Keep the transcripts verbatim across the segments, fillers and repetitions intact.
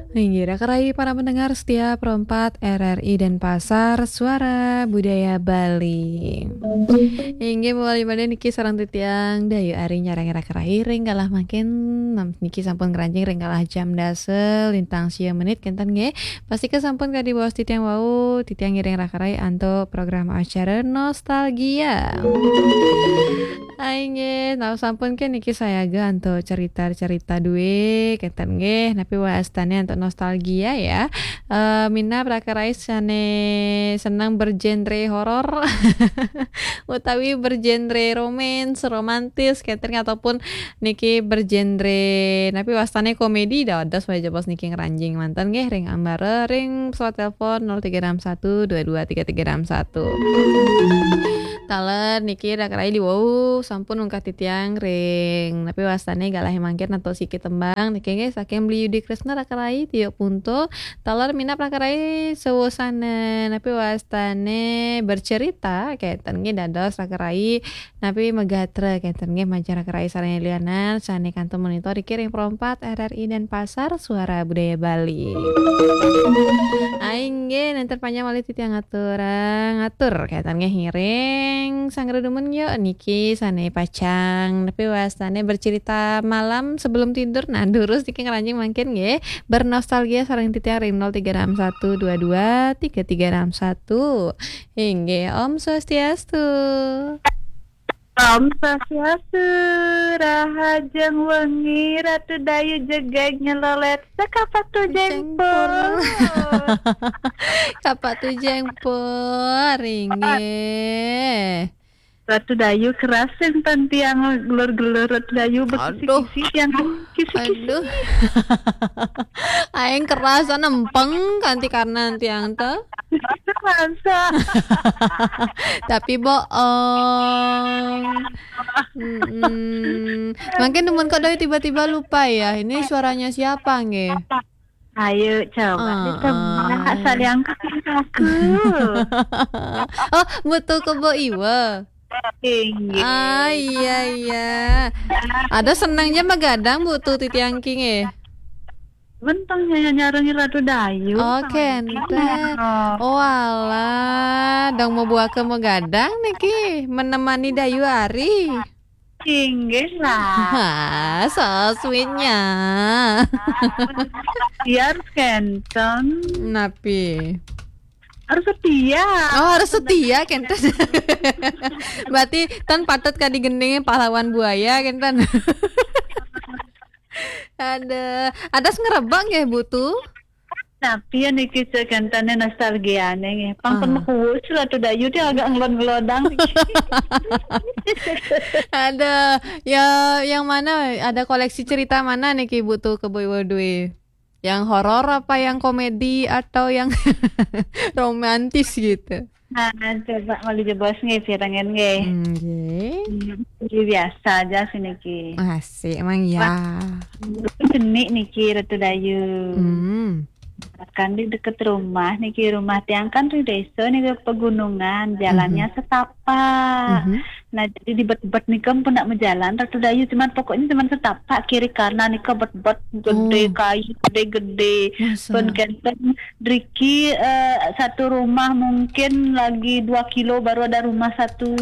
Inggih, Raka Rai para pendengar setia Pro empat R R I Denpasar, Suara Budaya Bali. Inggih, mawali malih niki sareng titiang Dayu Ari nyarengin Raka Rai ring galah mangkin, nam-, niki sampun ngranjing ring galah jam dasa lintang sia menit kenten nggih. Pastika sampun kadi baos titiang wau, titiang ngiring Raka Rai antuk program acara Nostalgia. Inggih, nah sampun ké niki sayaga antuk cerita-cerita dué, kenten nggih, napi wastané antuk nostalgia ya. Eh, minab Raka Rai sané seneng bergenre horor utawi bergenre romance, romantis, kenten nggih, ataupun niki bergenre, napi wastané komedi, dados wajah bos niki ngranjing manten nggih, ring ambara, ring pesawat telepon nol tiga enam satu dua dua tiga tiga enam satu. Taler niki Raka Rai diwau sampun ungkah titiang ring napi wastané galah mangkin antuk siki tembang niki nggih saking Beli Yudi Kresna Raka Rai tiuk punto. Taler minab Raka Rai sawusana napi wastané bercerita kenten nggih dados Raka Rai napi magatra kenten nggih majeng Raka Rai sareng lianan sané kantun monitor niki ring Pro empat R R I Denpasar Suara Budaya Bali. Inggih, nénten panjang malih titiang aturang, atur kenten nggih ngiring sang redumun yuk niki sané pacang napi wastané bercerita malam sebelum tidur. Nah, durus niki ngranjing mangkin nggih, bernostalgia sareng titiang ring nol tiga enam satu dua dua tiga tiga enam satu. Inggih, Om Swastiastu. Om Swastiastu, rahajeng wengi, Ratu Dayu jegég nyelolét, sekapat tujeng pun. Kapak tujeng pun, inggih. Ratu Dayu keras sing tan tiang gelur-gelur Ratu Dayu. Aduh. Bekisi-kisi tiang kisi-kisi. Aduh. Aing keras nempeng kanti karena tiang téh. Masa? Tapi bohong. Mm-mm. Mungkin temen kok doi tiba-tiba lupa ya. Ini suaranya siapa nggih? Ayo coba. Ah, ditebak ah. Saliang kaki aku. Oh, Butu Kebo Iwa. Inggih. Ah, iya, iya. Ada senangnya magadang Butu titiang king eh. Bentang nyanya nyarengi Ratu Dayu. Oh, kenten. Oh, alah, dong mau buah ke mau gadang niki menemani Dayu Ari. Inggih lah. Ha, so sweetnya. Biar kenten. Napi? Harus setia. Oh, harus setia kenten. Berarti tan patut kadi gending pahlawan buaya kenten. Ada, ada ngerebak nggih Butu? Tapi ya niki cek kentane nostalgiane nggih. Pang pun mekuwus Ratu Dayu dia agak ngelon-ngelodang. Ada, ya yang mana? Ada koleksi cerita mana niki Butu Kebo Iwa duwe? Yang horor apa yang komedi atau yang romantis gitu? Nah, coba malih jebos nggih pirengan nggih. Nggih. Hmm, nggih, biasa aja sih niki. Asik emang ya. Wah, jenik niki Ratu Dayu. Hmm. Kan di deket rumah niki, rumah tiang kan di desa niki pegunungan, jalannya setapak. Mhm. Nah, jadi di bet-bet nika pun nak berjalan Ratu Dayu, cuman pokoknya cuman setapak kiri kanan nika bet-bet gede, oh, kayu gede-gede. Masa? Pun kenten driki, eh, satu rumah mungkin lagi dua kilo baru ada rumah satu.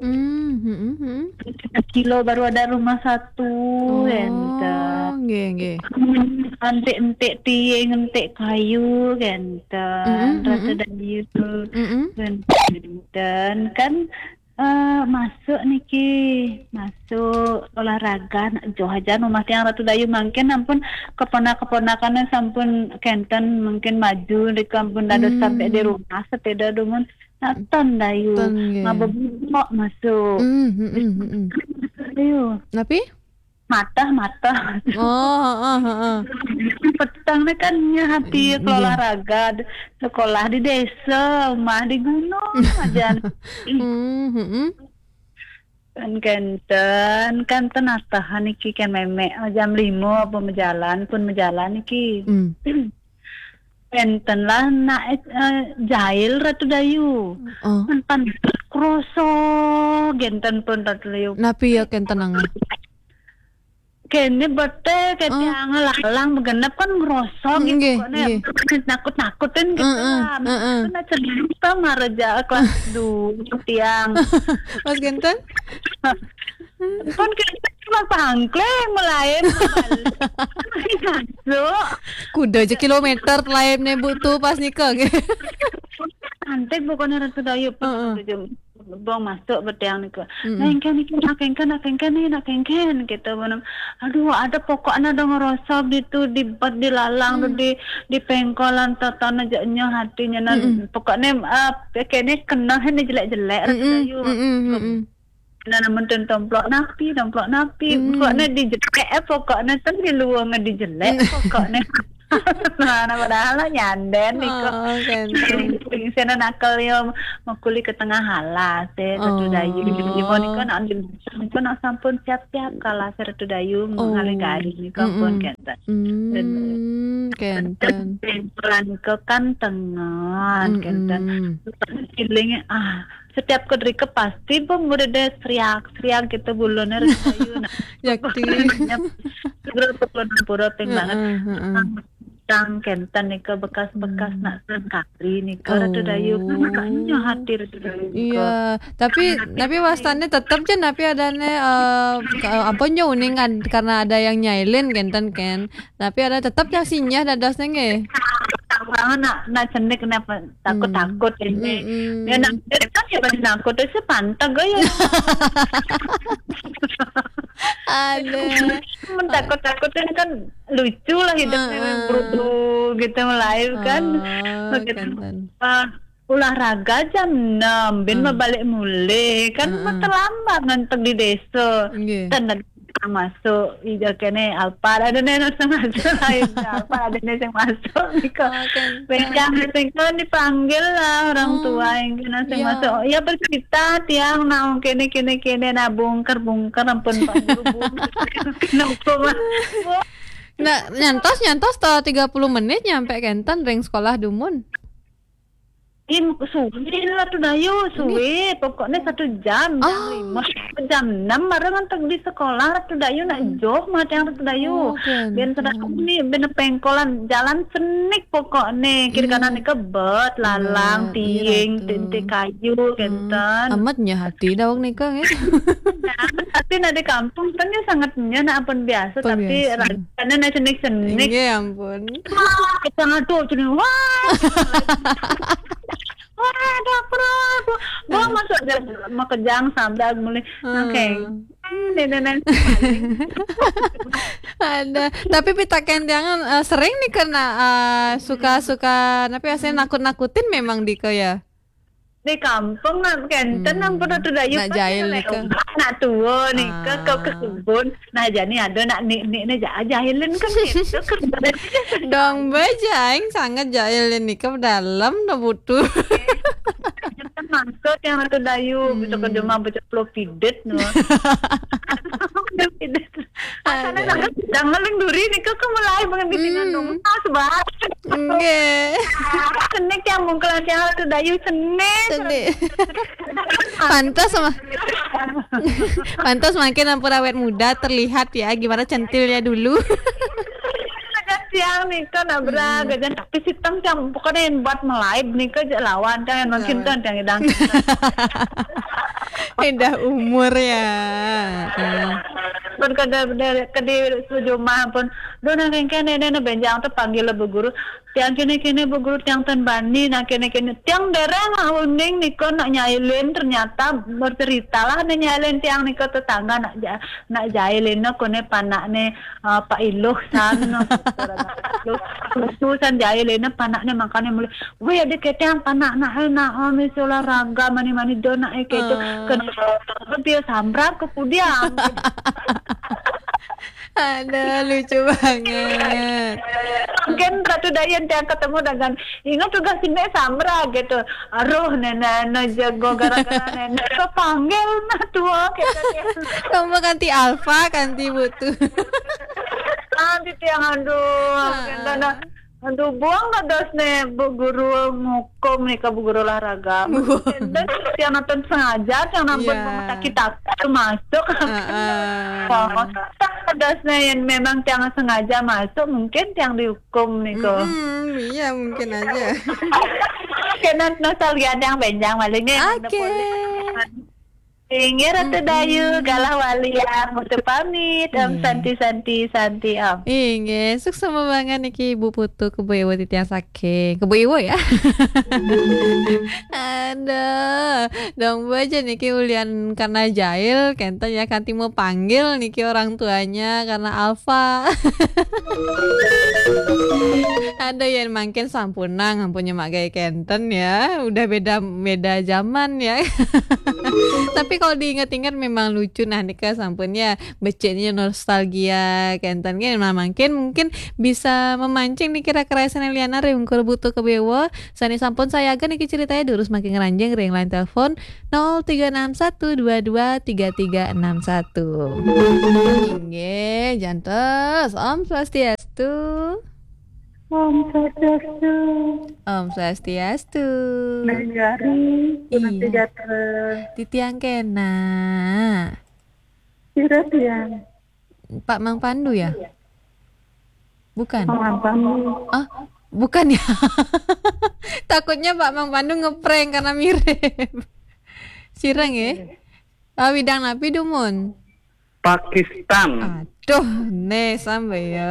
Hmm, hmm, hmm. Dua kilo baru ada rumah satu, oh, kenten. Nggih, nggih. Antik-entik tiing, entik kayu, kenten. Mm-mm, Ratu mm-mm. Dayu. Mm-mm. Kenten kan, eh, masuk niki, masuk olahraga, nak joh aja rumah tiang Ratu Dayu mangkin ampun keponak-keponakannya sampun kenten mungkin maju, niki ampun dados sampai di rumah sepeda dumun. Nah, ten Dayu. Ten, nggih. Mabebubok masuk. Mm, mm, mm, mm, mm. Dayu. Napi? Matah, matah. Oh, heeh, heeh. Petang ni kan nya hati, mm, nggih, olahraga, sekolah di desa, rumah di gunung aja. Hmm, hmm. Kan kenten, kan tenatahan iki kan memek jam lima apa mejalan pun mejalan iki. Hmm. Enten lah nak, eh, jail Ratu Dayu. Oh. Enten kroso, genten pun Ratu Dayu. Napi ya kenten nang? Kene bete ke tiang lalang begenep kan ngerosong gitu kok ne. Nakut-nakutin gitu lah. Heeh. Kan cerita maraja kelas dua tiang. Mas Genten? Kan kita cuma pangkleng mulai. Masuk. Kuda aja kilometer lain ne butuh pas nikah. Cantik pokoknya Ratu Dayu pas Ratu Dayu. Bong masuk betiang nika. Nah, engken, engken, nak engken, nak engken nih, nak engken gitu. Aduh, ada pokoknya ada ngerosok di tu, di bat, di lalang tu, di di pengkolan, tatan aja nya hatinya. Nah, pokoknya eh kene kena ni jelek-jelek Ratu Dayu. Nah, namun ten tomplok napi, tomplok napi. Pokoknya di jelek eh pokoknya ten di luang di jelek pokoknya. Nah, nah, padahal lah nyanden nih kok. Oh, kan. Sing sena nakal yo makuli ke tengah halas eh Ratu Dayu. Yo nika nak nika nak sampun siap-siap kalah Ratu Dayu mengalih garis nika pun kenten. Hmm, kenten. Tempelan ke kan tengen kenten. Feeling ah setiap kedrike pasti pemuda deh seriak-seriak gitu bulone Ratu Dayu. Nah, yakti. Segera pura-pura banget. Heeh, heeh. Tang kenten nika bekas-bekas nak sengkari nika Ratu Dayu. Makanya hati Ratu Dayu nika. Iya, tapi tapi wastane tetep je napi adane eh, ke- apa nyo uning ad- karena ada yang nyailin kenten kan. Tapi ada tetep yang sinyah dadas nenge. Orang nak nak cenik kenapa takut-takut ini. Ya nak kan ya pasti takut itu pantag ya. Ada. Mentakut-takutin kan lucu lah hidupnya berudu gitu live kan. Begitu. Kenten. Ah, olahraga jam enam, bin mau balik mulai kan mau terlambat ngantuk di desa. Nggih. Dan ada yang masuk ija kene Alphard ada nih yang masuk lain Alphard ada nih yang masuk nika. Bencang nika dipanggil lah orang tua yang kena yang masuk. Ya bercerita tiang naung kene kene kene nah bungker bungker ampun Pak Guru bungker. Kenapa Mas? Nah, nyantos nyantos to tiga puluh menit nyampe kenten ring sekolah dumun. Im suwe lah Ratu Dayu, suwe. Pokoknya satu jam, jam lima, jam enam baru ngantuk di sekolah Ratu Dayu nak joh mah tiang Ratu Dayu. Oh, kenten. Ben sedang ni ben pengkolan jalan senik pokoknya kiri kanan ni kebet lalang tiing tinti kayu kenten. Amat nya hati dawang nika nggih. Tapi nak di kampung kan dia sangat nya nak ampun biasa tapi biasa. Rasanya nak senik-senik. Nggih ampun. Wah, kita ngadu cini. Wah. Wah, ada apa? Gua masuk aja makejang sambil mulai. Oke. Nenek ada. Tapi pitaken jangan eh, sering nih kena eh, suka-suka tapi biasanya nakut-nakutin memang Diko ya. Di kampung nak kenten ampun Ratu Dayu nak jahil nika. Nak tua nika ke kebun. Nah, jadi ada nak nik-nik ni ja- jahilin kan gitu kan. Dong bejaing sangat jahilin nika dalam no butuh. Kita masuk yang Ratu Dayu, bisa ke rumah baca pulau pidet no. Pidet. Asalnya sangat sedang ngalung duri nika ke mulai banget di sini dong. Pas banget. Nggih. Senik yang mungkelan yang Ratu Dayu senik. Senik. Pantas sama Pantas makin ampun awet muda terlihat ya gimana centilnya dulu. Ada tiang nih kan abra gajan tapi sitam tiang pokoknya yang buat melive nih ke lawan kan yang makin kan yang idang. Indah umur ya. Pun kada kada ke di sujumah pun dona kengken ini benjang tuh panggil bu guru. Tiang kene-kene bu guru tiang tan bani nah kene-kene tiang dereng uning nika nak nyailin ternyata bercerita lah nak nyailin tiang nika tetangga nak ja, nak jailin nak kone panak ne uh, Pak Iluh san no. Iluh san jailin nak panak ne makane mulai weh ada ketiang panak nak eh nak oh mesti olahraga mani-mani do nak eh keto kena dia sambrap ke pudiang. Ada lucu banget. Mungkin Ratu Dayan tiang ketemu dengan ingat tugas ini samra gitu. Aduh nenek no jago gara-gara nenek kepanggil nah tua gitu. Kamu ganti alfa ganti butuh. Nanti tiang aduh. Kentana Aduh, buang kados ne Bu Guru ngukum nika, Bu Guru olahraga. Dan tiang nonton sengaja, tiang nonton Iya. Rumah Sakit Takut masuk. Heeh. Kados ne yang memang tiang sengaja masuk, mungkin tiang dihukum niku. Mm-mm, iya, mungkin aja. Kena nostalgia tiang benjang malih nggih. Oke. Inggih, Ratu Dayu, galah walian, Putu pamit, Om Santi, Santi, Santi, Om. Inggih, suksma banget niki Ibu Putu, Kebo Iwo titiang saking Kebo Iwo ya. Aduh, dong baca niki ulian karena jahil, kenten ya kanti mau panggil niki orang tuanya karena alfa. Ada yang mungkin sampunang, ampunnya mak gaya kenten ya, udah beda beda zaman ya. Tapi kalau diingat-ingat memang lucu nah nika sampun ya, beciknya nostalgia kenten kan. Nah, mungkin mungkin bisa memancing nih kira-kira sana liana ring Kebo Iwo. Sani sampun saya akan niki ceritanya durus makin ngeranjing ring line telepon nol tiga enam satu dua dua tiga tiga enam satu. Inggih, jantos. Om Swastiastu. Om Swastiastu. Om Swastiastu. Nagari, Iya. Sejahtera. Titiang kena. Sira tiang. Pak Mang Pandu ya? Bukan. Mang Pandu. Ah, bukan ya. Takutnya Pak Mang Pandu ngeprank karena mirip. Sireng ya? Ah, widang napi dumun? Pakistan. Aduh, nih sampai ya.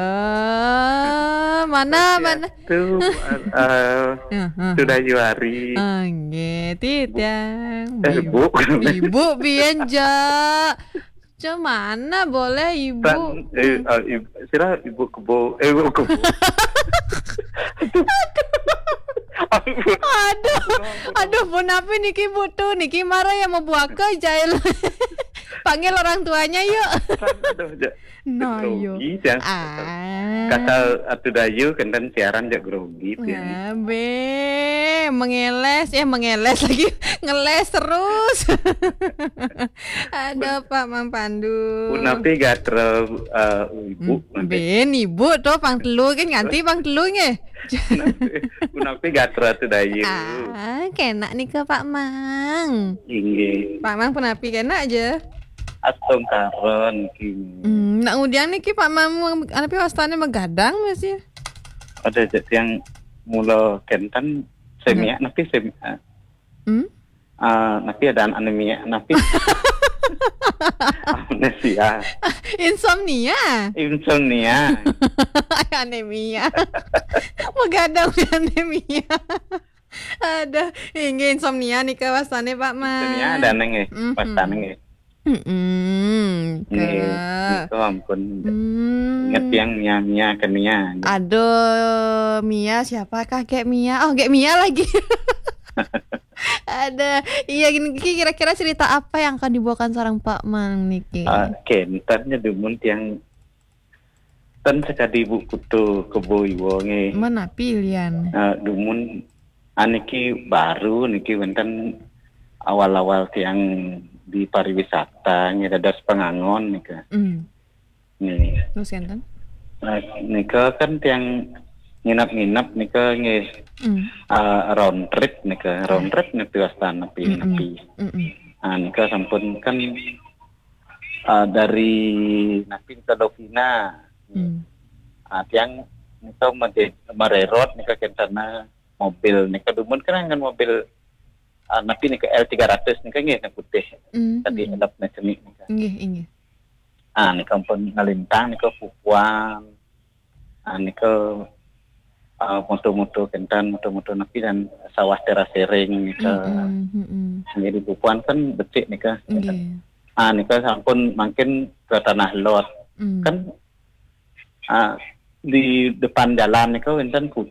Mana, mana? Itu, eh, eh, Heeh. Sudah Juari. Nggih, titiang. Eh, Bu. Ibu biyen, ja. Cemana boleh Ibu? Tan, eh, eh, Ibu, sira Ibu Kebo, eh, Ibu Kebo. Aduh, aduh, punapi niki Bu tuh, niki marah ya mau buaka jail. Panggil orang tuanya yuk. Tan, aduh, ja. Nah, yuk. Grogi, ya. Ah. Kata Atu Dayu, kenten siaran jak grogi, ya. Nah, be, mengeles, ya mengeles lagi, ngeles terus. Ada Pak Mang Pandu. Punapi gatra, eh, Ibu, Hmm, nanti. Ben, Ibu tuh pang telu kan nganti pang telu nggih. Punapi, punapi gatra Atu Dayu. Ah, kena nika Pak Mang. Inggih. Pak Mang punapi kena aja. Astungkaron niki. Hmm, nak ngudiang niki Pak Mang, anapi wastane magadang masih. Ada aja yang mula kenten semia, napi semia. Hmm? Ah, napi ada anemia, napi. Amnesia. Insomnia. Insomnia. Anemia. Magadang anemia. Ada, inggih insomnia nika wastane Pak Mang. Insomnia ada neng eh, Mhm. Wastane nggih. Mm-mm, Nggih, ke- itu ampun. Hmm. Ingat yang Mia, Mia ke Mia. Aduh, Mia siapakah Gek Mia? Oh, Gek Mia lagi. Ada. Iya, gini, ki-, kira-kira cerita apa yang akan dibawakan seorang Pak Mang niki? Ah, kenten nya dumun tiang ten sekadi Ibu Putu Kebo Iwo nggih. Menapi lian? Ah, dumun aniki baru niki wenten awal-awal tiang di pariwisata nggih dados pengangon nika. Hmm. Nggih. Terus kenten? Nah, nika kan tiang nginap-nginap nika nggih, Hmm. ah, round trip nika, round trip nika wastane napi, Mm-mm. Napi. Mm-mm. Ah, nika sampun kan, ah, dari napi nika Lovina. Hmm. Ah, tiang nika mede-, mererot nika kentana mobil nika dumun kan dengan mobil, ah, napi nika L tiga ratus nika nggih, nang putih. Hmm, Tadi hmm. Elap na cemik nika. Inggih, inggih. Ah, nika ampun ngalintang nika pupuan. Ah, nika, ah, moto-moto kenten, moto-moto napi dan sawah teras sering nika. Mm-mm, mm-mm. Jadi pupuan kan becik nika. Nggih. Ah, nika sampun mangkin ke Tanah Lot. Mm. Kan, ah, di depan jalan nika wenten ku-,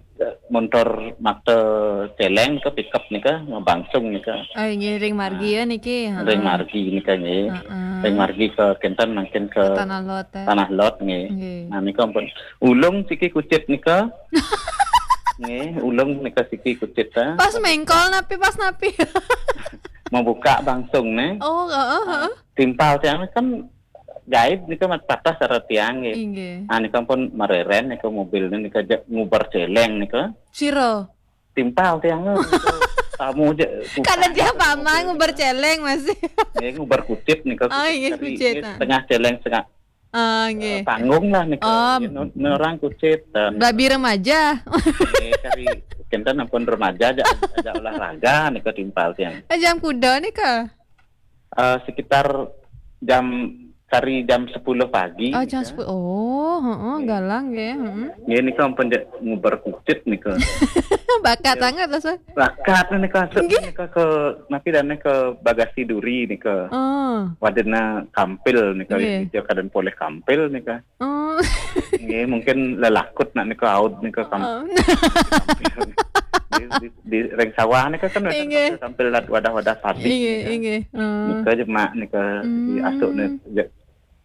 montor makta celeng nika, pickup nika, ngabangsung nika. Oh, nggih, ring margi Ah, ya niki, ring heeh. Margi nika nggih. Heeh. Ring margi ke kenten mangkin ke Ke Tanah Lot, eh. Tanah Lot nggih. Nggih. Nah, nika ampun. Ulung siki kucit nika. Nggih, ulung nika siki kucit, ah. Pas mengkol napi, pas napi? Mau buka bangsung nih. Oh, heeh, heeh. Timpal tiang kan gaib nika mat patah sara tiang nggih. Inggih. Ah, nika pun mareren nika mobil nika ja-, nguber celeng nika. Sira? Timpal tiang nika. Tamu ja, kada dia pama nguber celeng masih. Nggih, nguber kucit nika. Oh, inggih, kucit, kucit, nggih, ah. Setengah celeng, setengah, ah, nggih, eh, panggung lah nika. Oh. Nggih, nu-, nerang kucit dan babi remaja. Nggih, kari kinten ampun remaja aja, aja olahraga nika timpal tiang. Eh, jam kuda nika? Eh, sekitar jam, kari jam sepuluh pagi. Oh, jam nika. Sepuluh. Oh, heeh, nggih, galang nggih, heeh. Nggih, nika ampun ja-, nguber kucit nika. Bakat sangat lah, Sir. Bakat nika, Sir, nggih, nika ke, napi dan nika bagasi duri nika. Oh. Wadena kampil nika, nggih, ija kadan poleh kampil nika. Oh. Nggih, mungkin lelakut nak nika aud nika kam-, oh, kampil. Di, di, di ring sawah nika kan wénten, inggih, kampil-kampil wadah-wadah padi, inggih, nika. Inggih. Hmm. Nika jemak nika, hmm, diasuk nika ja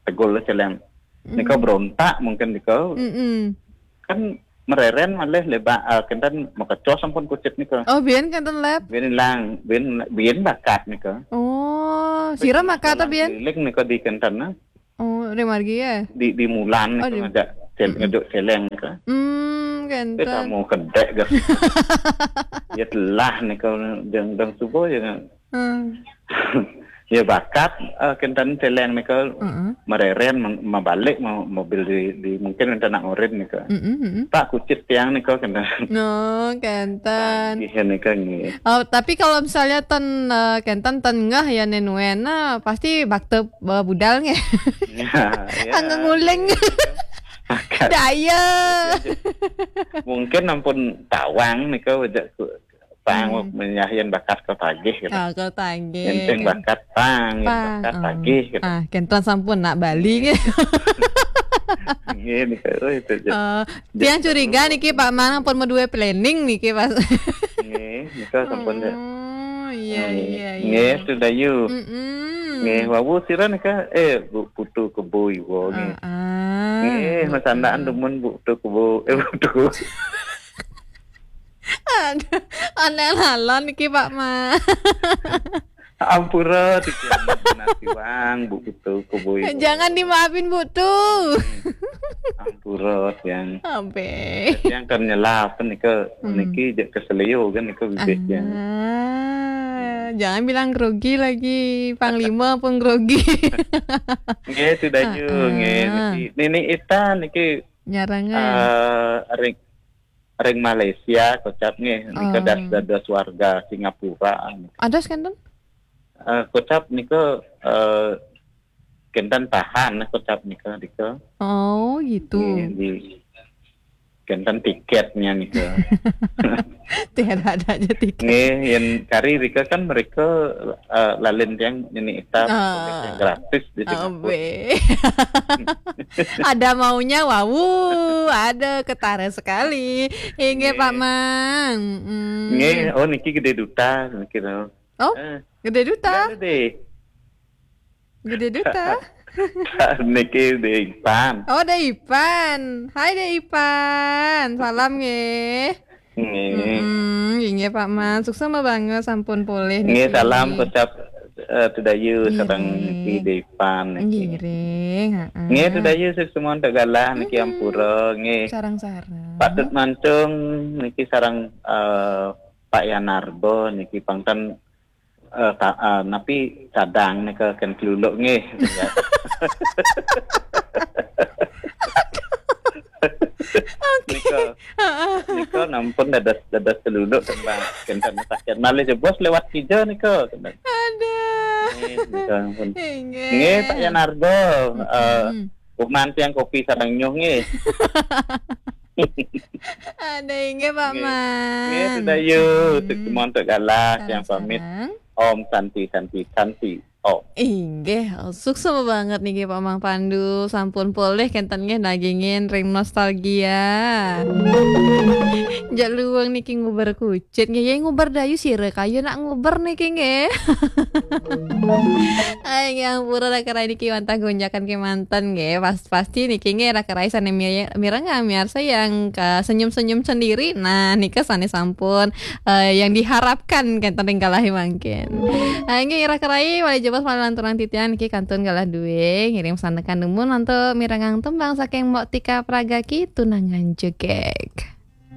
tegul celeng. Hmm. Nika berontak mungkin nika. Mm-mm. Kan mereren malih lebak, ah, kinten makecos ampun kucit nika. Oh, biyen kinten lep. Biyen ilang, biyen, biyen bakat nika. Oh, sira makat ta biyen? Keliling nika di kinten, nah. Oh, ring margi ya? Di, di Mulan, oh, nika di ngajak cel-, hmm, ngejok celeng nika. Hmm, kinten. Tamu kedek ga. Ya telah nika dang, dang subuh ya. Hmm. Ya bakat, eh, kinten celeng nika, heeh, mereren, meng-, mabalik, ma-, mobil di, di, mungkin wénten nak ngurin nika. Mm-mm, mm-mm. Pak kucit tiang nika kinten. No, kinten. Nggih, nika nggih. Oh, tapi kalau misalnya ten, eh, kinten ten ngeh ya nen wena, pasti bakte, eh, budal nggih. Ya, ya. Anggo nguling. Bakat. Daya. Mungkin ampun tawang nika wajak ku-, pang, hmm, menyah yén bakat ka tagih gitu. Ah, ka tagih. Yén sing bakat pang, yén bakat tagih gitu. Ah, kinten sampun nak bali gitu. Nggih, nika, oh, itu aja. Oh, tiang curiga niki Pak Mang ampun madué planning niki pas. Nggih, nika sampun ya. Oh, iya, iya, iya. Nggih, Tudayu. Mm-mm. Nggih, wau sira nika, eh, Bu Putu Kebo Iwa nggih. Ah, ah. Nggih, masandaan dumun Bu Putu Kebo, eh, Bu Putu Kebo. Aduh, aneh lalon iki, Pak Ma. Ampura, tiki amat benar tiwang, Bu Putu Kebo Iwa. Jangan dimaafin, Bu Tu. Ampura, tiang. Ampe. Tiang kan nyelap, kan nika, hmm, niki jek keselio, kan nika bibit, tiang. Ah, jangan bilang grogi lagi, Panglima pun grogi. Nggih, Tudayu, ah, nggih, ah, niki. Nini Ita, niki, nyarangan. Eh, ring, ring Malaysia, kocap nggih, nika, oh, das dados warga Singapura. Adas kenten? Eh, kocap nika, eh, kenten tahan, kocap nika, nika. Oh, gitu. Nggih, di, kenten tiketnya nika. Tiada ada aja tiket. Nggih, yén kari rika kan mereka, eh, lalin tiang nini Ita, ah, gratis di Singapura. Abe. Ada maunya, wau, ada ketara sekali. Inggih, nggih, Pak Mang. Mm. Nggih, oh, niki Gede Duta, niki, no. Oh, eh, Gede Duta? Gede. Gede Duta? Niki Dek Ipan. Oh, Dek Ipan. Hai, Dek Ipan. Salam, nggih. Nggih. Mm-mm, inggih, Pak Mang. Sukses banget, sampun polih nggih, niki. Salam kocap, eh, Tudayu, nggih, sareng niki Dek Ipan niki. Ngiring, heeh. Nggih, Tudayu, sukses untuk galah niki, mm-mm, ampura, nggih. Sareng-sareng. Patut mancung niki sareng, eh, Pak Yanarbo niki pangten, eh, ka-, eh, napi kadang nika ken keluluk nggih. Oke. Nika, heeh, nika nampun dadas, dadas keluluk tembang kenten sakit. Malih jebos lewat kija nika. Aduh. Nggih, nika ampun. Inggih. Nggih, Pak Yanardo, eh, mm-mm, uman tiang kopi sareng nyuh nggih. Ada inggih, Pak Mang. Nggih, sudah yuk. Untuk semua untuk galah yang pamit. Sareng-sareng. Om Santi, Santi, Santi. Om. Inggih, sukses banget niki Pak Mang Pandu. Sampun polih kenten nggih nagingin ring nostalgia. Jak luwung niki nguber kucit nggih, ya nguber dayu sira kaya nak nguber niki nggih. Ay, nggih, ampura raka rai niki wantah gonjakan kemanten nggih. Pas Pasti niki nggih raka rai sané mi-, mirengang miarsa yang ka senyum-senyum sendiri. Nah, nika sané sampun, eh, yang diharapkan kenten ring kalahi mangkin. Ah, nggih raka rai, malih Bos, malam turang titian iki kantun galah duwe ngirim sandekan dumun untuk mirengang tembang saking Mbok Tika Pragaki, Tunangan Jegeg.